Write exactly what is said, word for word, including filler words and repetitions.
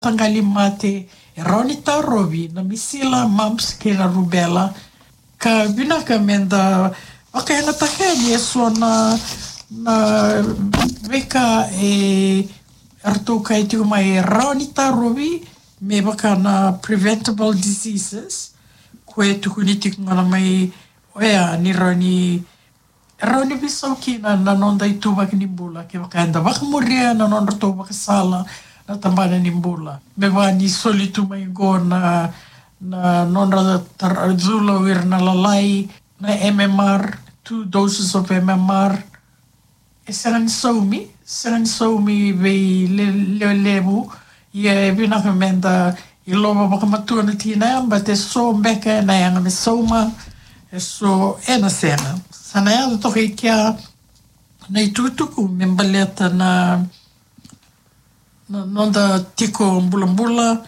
mataqali mate, e rawa ni tarovi na misila, mumps kei na rubela. Ka vinaka meda vakayagataka yani eso na, na veika e ratou kaya tiko mai e rawa ni tarovi me vaka na preventable diseases. Ko e tukuni tiko ga mai oya ni rawa ni, rawa ni veisau kina na noda ituvaki ni bula kevaka eda vakamuria na nodratou vakasala na tabana ni bula. Me vaka ni soli tu mai qo na, na nodra tara, cula o ira na lalai, na M M R, two doses of M M R. E sega ni saumi, sega ni saumi vei le, le, levu. Ia e vinaka meda ilova vakamatua na tikina ya, but e so beka ena yaga me sauma, e so ena sega. Sa na yaco toka i kea na itukutuku me baleta na, na noda tiko bulabula,